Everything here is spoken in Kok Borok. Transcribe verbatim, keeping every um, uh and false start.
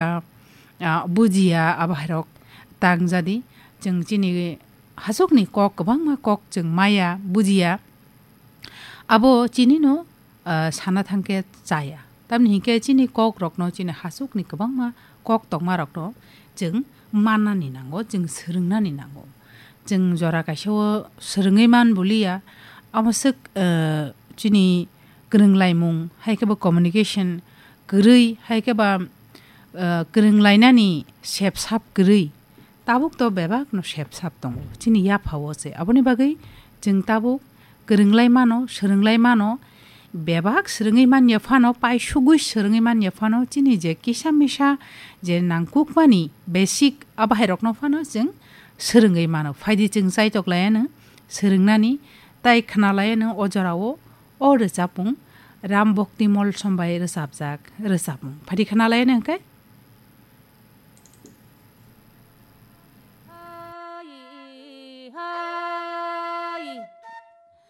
ah, ah, bujiya, abo hairok tangjadi. Chwng chini hasukni kok, kwbangma kok chwng maya, bujiya. Abo chinino, ah, sana thangkhe chaya. Tamni hinkhe chini kokrokno, chini hasukni kwbangma kok tongmarokno chwng mannani nango, chwng swrwngnani nango. Chwng jora kaisa o swrwngwi man buliya, amo swk, ah, chini kwrwnglaimung, hai khe bo communication kwrwi, hai khe ba, ah, kwrwnglainani sepsap kwrwi. Tabuk to bebak no sepsap tongo chini yapha o se. Aboni bagwi chwng tabuk kwrwnglai mano, swrwnglai mano, bebak swrwngwi manya phano, paisugwi swrwngwi manya phano, chini je kisa misa je nangkukmani basic abahairokno phano chwng swrwngwi mano. Phaidi chwng chaitok laiano swrwngnani, tai khna laiano o jorao o rwchapmung Ram Bhakti Molsom bai rwchapjak rwchapmung. Phaidi khna laiano hwnkhe